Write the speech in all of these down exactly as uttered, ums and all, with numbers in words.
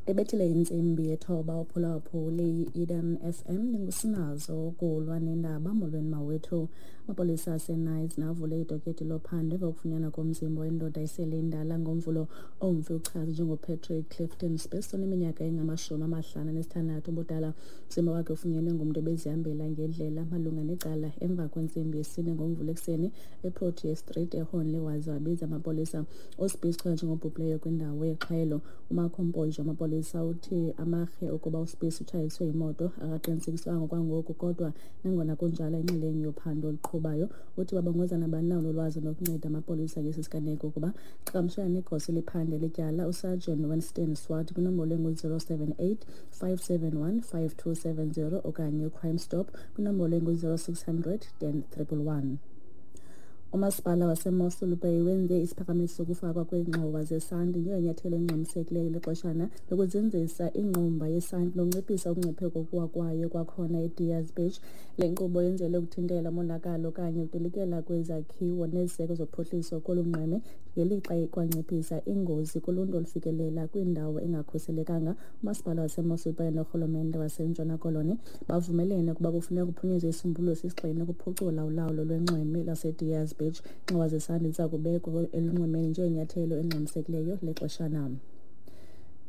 Ebethile intsimbi yethoba uphulaphuli i-Eden F M ndingusinazo ukulwa nendaba. Molweni mawethu. Amapolisa aseNice navule idokethi lophando emva kokufunyanwa komzimba wendoda esele indala ngoMvulo. Omfi uchaze njengoPatrick Clifton Spies oneminyaka engamashumi amahlanu anesithandathu ubudala. Umzimba wakhe ufunyenwe ngumntu ebezihambela ngendlela malunga necala emva kwentsimbi yesine ngoMvulo ekuseni eProtea Street eHornley, waze wabiza amapolisa. USpies uchaze njengobhubhileyo kwindawo yexhwayelo. UMarco Mpojo amapolisa uthi amarhe ukuba uSpies utshayiswe yimoto akaqinisekiswanga kwangoku, kodwa nangona kunjalo inxalenye yophando oluqhubayo. Uthi babongoza nabani na onolwazi nokunceda amapolisa ngesi siganeko ukuba qhagamshelane negosa eliphande lityala uSergeant Winston Swart kwinombolo engu-zero seven eight five seven one five two seven zero okanye uCrime Stop kwinombolo engu-zero six hundred ten triple one. Umasipala waseMossel Bay wenze isiphakamiso sokufakwa kweengxowa zesanti njengenyathelo elingxamisekileyo lexeshana lokuzinzisa ingqumba yesanti nokunciphisa umngcipheko wokuwa kwayo kwakhona eDiaz Beach. Le nkqubo yenzelwe ukuthintela umonakalo okanye ukudilikela kwezakhiwo neziseko zophuhliso kolu nxweme, ngelixa ikwanciphisa ingozi kuluntu olufikelela kwindawo engakhuselekanga. Umasipala waseMossel Bay norhulumente waseNtshona Koloni bavumelene ukuba kufuneka kuphunyezwe isisombululo sesigxina ukuphucula ulawulo lwenxweme laseDiaz Beach. Iingxowa zesanti ziza kubekwa elunxwemeni njengenyathelo elingxamisekileyo lexeshana.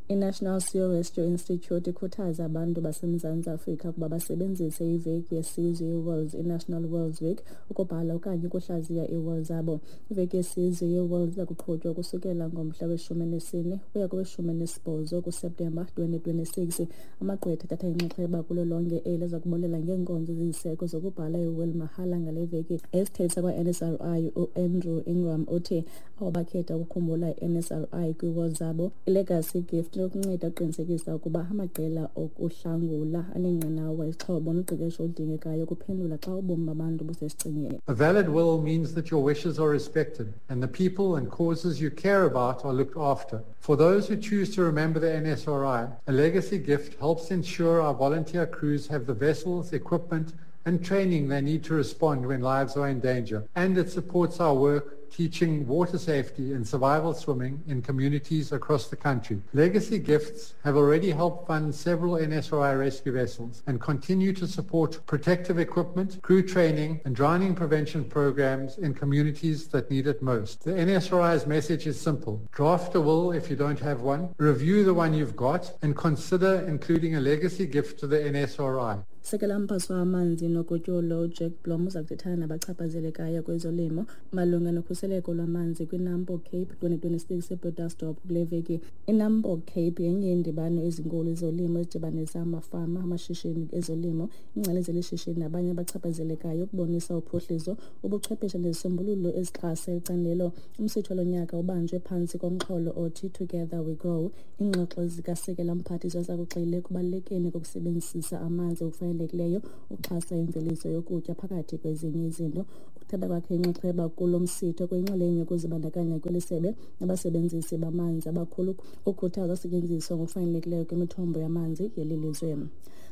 I-National Seal Rescue Institute ikhuthaza abantu baseMzantsi Afrika ukuba basebenzise iveki yesizwe ye-Wills, i-National Wills Week, ukubhala okanye ukuhlaziya ii-wills zabo. Iveki yesizwe ye-Wills iza kuqhutywa ukusukela ngomhla weshumi nesine ukuya koweshumi nesibhozo kuSeptemba twenty twenty-six. Amagqwetha athatha inxaxheba kulo lonke eli aza kubonelela ngeenkonzo eziziseko zokubhala i-will mahala ngale veki. Isithethi sakwa-N S R I uAndrew Ingram uthi abo bakhetha ukukhumbula i-N S R I kwii-wills zabo, i-legacy gift inokunceda ukuqinisekisa ukuba amaqela okuhlangula aneenqanawa, izixhobo noqeqesho oludingekayo ukuphendula xa ubomi babantu busesichengeni. A valid will means that your wishes are respected and the people and causes you care about are looked after. For those who choose to remember the N S R I, a legacy gift helps ensure our volunteer crews have the vessels, equipment and training they need to respond when lives are in danger. And it supports our work teaching water safety and survival swimming in communities across the country. Legacy gifts have already helped fund several N S R I rescue vessels and continue to support protective equipment, crew training and drowning prevention programs in communities that need it most. The N S R I's message is simple. Draft a will if you don't have one, review the one you've got, and consider including a legacy gift to the N S R I. Sekela mphaso wamanzi nogutyulo uJack Blom uza kuthethana nabachaphazelekayo kwezolimo malunga nokhuseleko lwamanzi kwiNampo Cape twenty twenty-six eBredasdorp kule veki. INampo Cape yenye yeendibano ezinkulu ezolimo ezidibanisa amafama, amashishini ezolimo, iingcali zelishishini nabanye abachaphazelekayo ukubonisa uphuhliso, ubuchwepheshe nezisombululo ezixhasa icandelo. Umsitho lonyaka ubanjwe phantsi komxholo othi Together We Grow. Iingxoxo zikasekela mphathiswa zakugxile ekubalulekeni kokusebenzisa amanzi okufanelekileyo ukuxhasa imveliso yokutya phakathi kwezinye izinto. Ukuthatha kwakhe inxaxheba kulo msitho kuyinxalenye yokuzibandakanya kweli sebe nabasebenzisi bamanzi abakhulu ukukhuthaza usetyenziswa ngokufanelekileyo kwemithombo yamanzi yeli lizwe.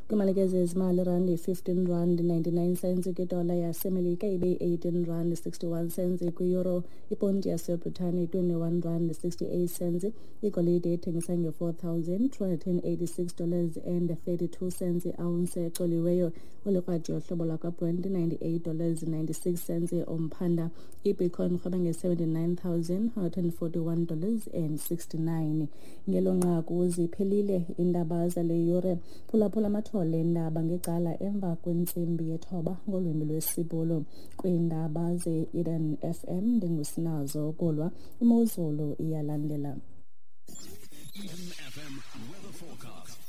Kwimalike zezimali, irandi fifteen rand ninety-nine cents kwidola yaseMelika ibe eighteen rand sixty-one cents kwi-euro, iponti yaseBritane twenty-one rand sixty-eight cents, igolide ethengisa nge-four thousand two hundred and eighty-six dollars and thirty-two cents i-ounce ecoliweyo, olikrwadi yohlobo lwakwaBrent ninety-eight dollars ninety-six cents umphanda, iBitcoin irhweba nge-seventy-nine thousand one hundred and forty-one dollars and sixty-nine. Ngelo nqaku ziphelile iindaba zale yure. Phulaphula amathole endaba ngecala emva kwentsimbi yethoba ngolwimi lwesiBhulu. Kwiindaba ze-Eden F M ndingusinazo Kulwa. Imozulu iyalandela. Eden F M weather forecast.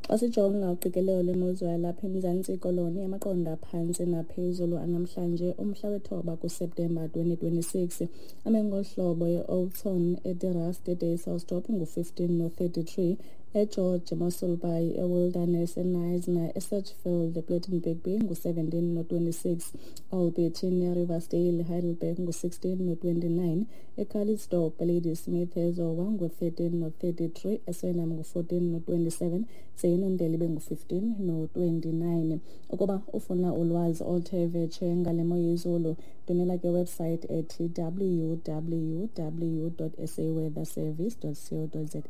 Xa sijonga uqikelelo lwemozulu yalapha eMzantsi Koloni, amaqondo aphantsi naphezulu anamhlanje umhla wethoba kuSeptemba twenty twenty-six ame ngolu hlobo: e-Oudtshoorn, eDerrast, eDeyselsdorp ngu-fifteen no-thirty-three, eGeorge, Mossel Bay, eWilderness, eKnysna, eSedgefield, ePlettenberg Bay ngu-seventeen no-twenty-six, Alberton, Riversdale, Heidelberg ngu-sixteen no-twenty-nine, eCalitzdorp, Ladysmith, eZowa ngu-thirteen no-thirty-three, eSwellnum ngu-fourteen no-twenty-seven, ze iNondeli ibe ngu-fifteen no-twenty-nine. Ukuba ufuna ulwazi oluthe vetshe ngale mo yezulu, ndwendwela ke website ethi w w w dot saweatherservice dot co dot za.